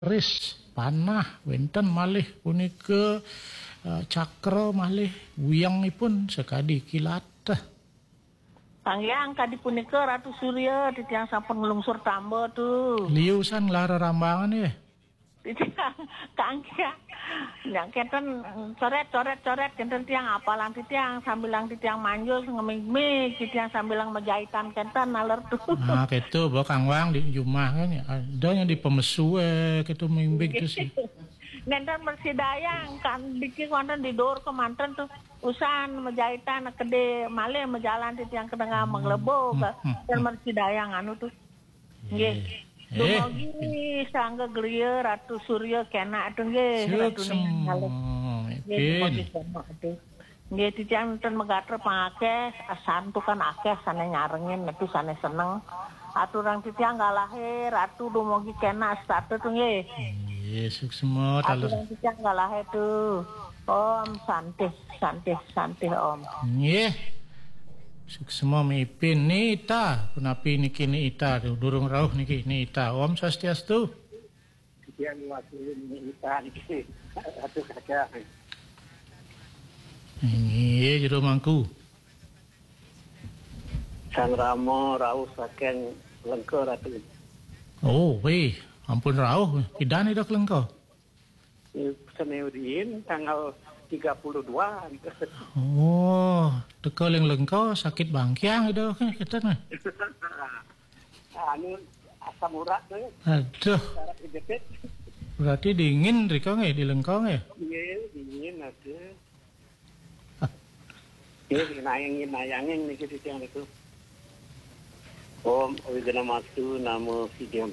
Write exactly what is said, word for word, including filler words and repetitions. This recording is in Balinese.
Keris, panah, wénten malih punika, eh, cakra malih wiyangipun sakadi kilat. Kangge kadi punika Ratu Surya, titiang sampun nglungsur tamba tu. Liusan nglara rambangan ya. Titiang kangge. Nya kenten coret, coret, coret, kenten tiang apalang titiang, sambilang titiang manjus ngemig-mig, titiang sambilang majahitan kenten naler tu. Nah, keto ba Kang Wang di jumah kan ya. Ada yang di pemesu, eh, keto mimbig tu sih. Nenten mersidayang kan diki wonten di dur kemanten tu. Usan majahitan kede malih majalan titiang kedengah menglebo, hmm, dan mersidayang anu tu. Nggih. Eh. Dumugi sangga griya Ratu Surya kenak tu nggih, Ratu Ning Malih. Nggih, dumugi kenak tu. Nggih, titiang nenten megatra pangakeh, santukan akeh sane nyarengin, netu sane seneng. Aturang titiang galahe, Ratu dumugi kenak setata tu nggih. Nggih, suksma, taler. Aturang titiang galahe tu. Om Santih, Santih, Santih Om. Nggih. Suksma mipin. Nita, punapi niki Nita tu? Durung rauh niki Nita. Om Swastiastu. Titiang wakilin Nita niki. Aduh, kacang. Nggih, jero mangku. Sang Rama rauh saking Lengka, Ratu. Oh, wih, ampun rauh. Pidan Ida ke Lengka? Sene riin tanggal tiga puluh dua. Oh, teka ling Lengka sakit bangkiang Ida ke, kita nah. Anu, asam urat tu. Aduh. Sarap kejepit. Berarti dingin rika nggih di Lengka nggih? Nggih, dingin ada. Nggih, nayangin, nayangin niki titiang niku. Om Awighnamastu Namo Sidham.